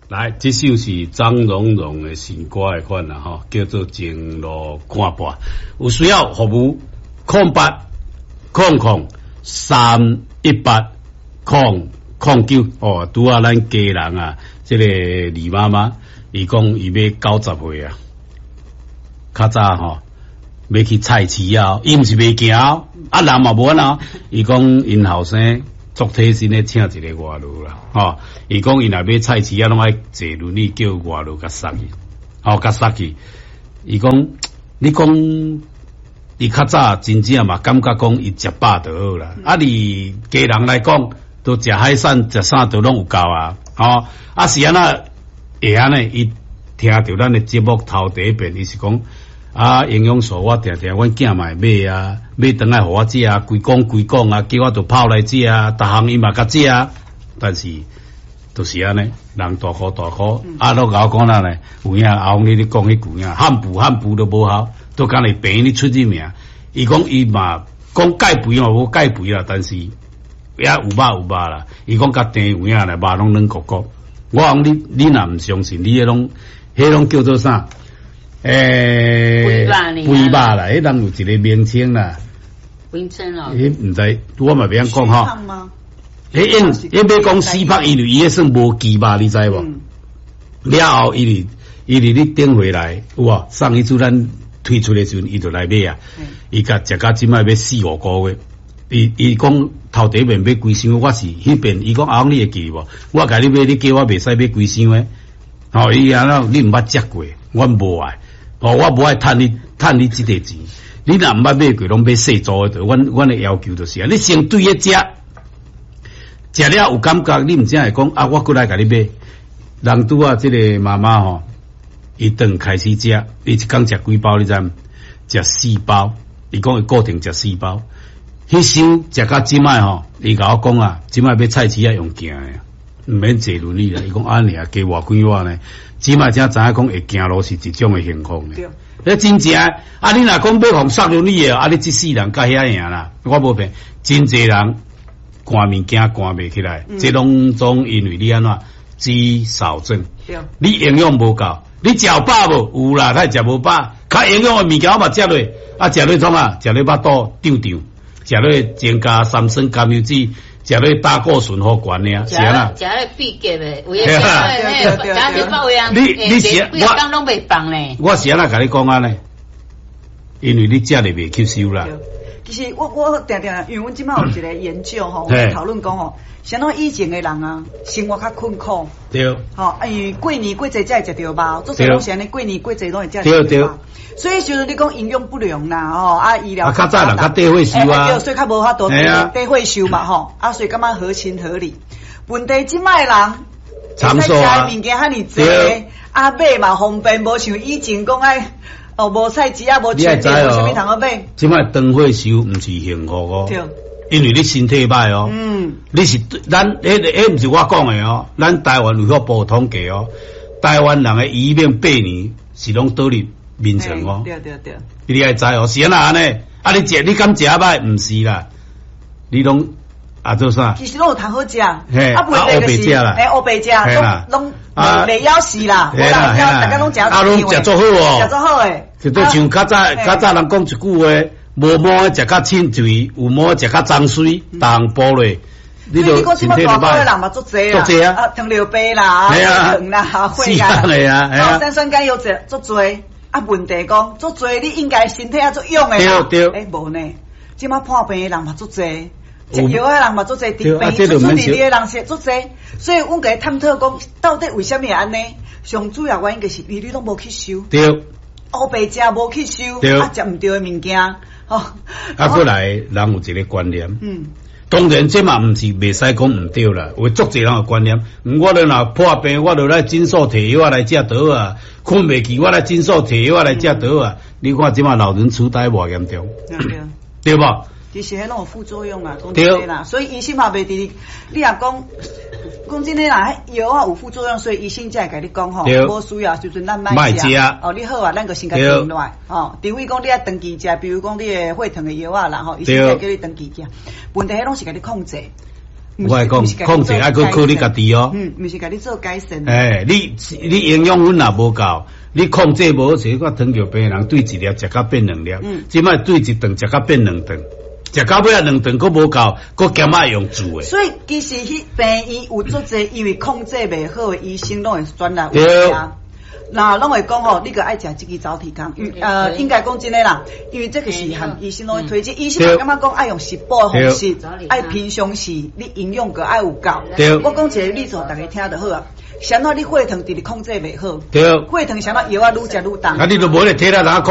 來，這首是張榮榮的新歌的款啦，吼，叫做《情路看破》。有需要服務，08000318009哦，拄仔咱家人啊，這個李媽媽，伊講伊欲90歲啊，較早吼，欲去菜市啊，伊毋是袂行，啊人嘛無按怎，伊講𪜶後生足貼心咧，請一個外勞啦，吼，伊講伊若欲菜市啊，攏愛坐輪椅叫外勞共捒去，吼，共捒去。伊講，你講，伊較早真正嘛感覺講伊食飽就好啦。啊，佇家人來講，都食海產、食啥都攏有夠啊，吼。啊是按怎會按呢？伊聽著咱的節目頭第一遍，伊是講啊，營養素我定定阮囝嘛會買啊，買轉來予我食啊，規工規工啊，叫我著泡來食啊，逐項伊嘛共食啊，但是就是按呢，人大箍大箍，啊，攏共我講哪呢？有影阿翁你咧講彼句影，漢補漢補都無效，都敢若病院咧出入名。伊講伊嘛講減肥嘛無減肥啦，但是也有肉有肉啦。伊講共甜有影咧，肉攏軟糊糊。我講你你若毋相信，你彼攏彼攏叫做啥？欸，肥肉啦，彼人有一個名稱啦。名稱哦。彼毋知，我嘛袂曉講吼。彼因彼欲講死胖，因為伊彼算無肌肉，你知無？了後，伊佇伊佇咧頂回來，有無？上一次咱推出的時陣，伊就來買啊。伊共食到這擺欲四五個月。伊伊講頭第一遍買規箱，我是彼遍，伊講阿翁你會記無？我共你買，你叫我袂使買規箱的。吼，伊按怎你毋捌食過，我無愛。哦，我無愛趁你趁你這個錢。你若毋捌買過，攏買細組的。阮阮的要求就是啊，你先對咧食，食了有感覺，你毋才會講啊，我閣來共你買。人拄仔這個媽媽吼，伊轉開始食，伊一工食幾包，你知毋？食四包。伊講伊固定食四包。彼箱食到這擺吼，伊共我講啊，這擺欲菜市仔用行的，毋免坐輪椅啦。伊講按呢加偌幾碗呢？這擺才知影講會行路是一種的幸福呢。對，真正啊！你若講欲予捒輪椅的，啊！你這世人較遐贏啦，我無騙，真濟人搬物件搬袂起來，這攏總因為你按怎肌少症，你營養無夠，你食有飽無？有啦，他食無飽，較營養的物件我嘛食落，啊，食落創啊？食落腹肚脹脹，食落增加三酸甘油酯。食咧膽固醇予懸爾，是啊。食咧秘結的，為了食食百位啊！你你是我剛攏袂放咧。我是按怎共你講按呢？因為你食咧袂吸收啦。其實我我定定，因為阮這擺有一個研究吼，討論講吼，啥物以前的人啊，生活較困苦。對。吼，因為過年過節才會食著肉，做啥攏是按呢，過年過節攏會食著肉。對對。所以就是你講營養不良啦，吼啊醫療啊較早人較短歲壽啊，對，所以較無法度短歲壽嘛，吼啊，所以感覺合情合理。問題這擺人，會使食的物件遐爾濟，啊買嘛方便，無像以前講愛哦無菜市啊，無全聯，無啥物通好買。這擺長歲壽毋是幸福哦，對，因為你身體歹哦，你是咱彼個彼毋是我講的哦，咱台灣衛福部統計哦，台灣人的餘命8年是攏倒佇眠床哦，對對對，你愛知哦，是按怎按呢？啊，你食你敢食歹？毋是啦，你攏啊做啥？其實攏有通好食，啊，烏白食啦，嘿，烏白食，攏攏袂枵死啦，無啦，大家攏食，啊，攏食足好哦，食足好的。就對像較早較早人講一句話，無毛的食較凊肥，有毛的食較髒水，逐項補落。你就身體大個人嘛足濟啊，啊，糖尿病啦，糖啦，血壓啦，三酸甘油酯足濟。啊，問題講足濟，你應該身體啊足勇的啦。對對。欸，無呢，這擺破病的人嘛足濟，食藥的人嘛足濟，治病出出入入的人是足濟，所以阮共伊探討講，到底為啥物會按呢？上主要原因就是因為你攏無吸收。對。烏白食無吸收，啊，食毋對的物件，吼。啊，閣來人有一個觀念。當然，這嘛毋是袂使講毋對啦。有足濟人的觀念，我著若破病，我著來診所提藥來食倒啊。睏袂去，我來診所提藥來食倒啊。你看這馬老人癡呆偌嚴重，對無？其實彼攏有副作用啊，講真的啦。所以醫生嘛袂佇你，你若講講真的啦，藥仔有副作用，所以醫生才會共你講吼，無需要時陣咱莫食。哦，你好啊，咱就先共停落來。吼，除非講你愛長期食，比如講你的血糖的藥仔啦，吼，醫生才叫你長期食。問題彼攏是共你控制。我來講，控制愛閣靠你家己哦。嗯，毋是共你做改善。欸，你營養分若無夠，你控制無好勢，看糖尿病的人對一粒食甲變兩粒，這擺對一頓食甲變兩頓，食到尾仔兩頓閣無夠，閣兼愛用煮的。所以其實彼病院有足濟，因為控制袂好的醫生攏會轉來有食。那攏會講吼，你閣愛食這支走鐵工，應該講真的啦，因為這個是和醫生攏會推薦，醫生嘛感覺講愛用食補的方式，愛平常時你營養閣愛有夠。我講一個例子，予大家聽就好啊。啥物你血糖直直控制袂好，血糖啥物藥仔愈食愈重。啊，你都無咧體力哪控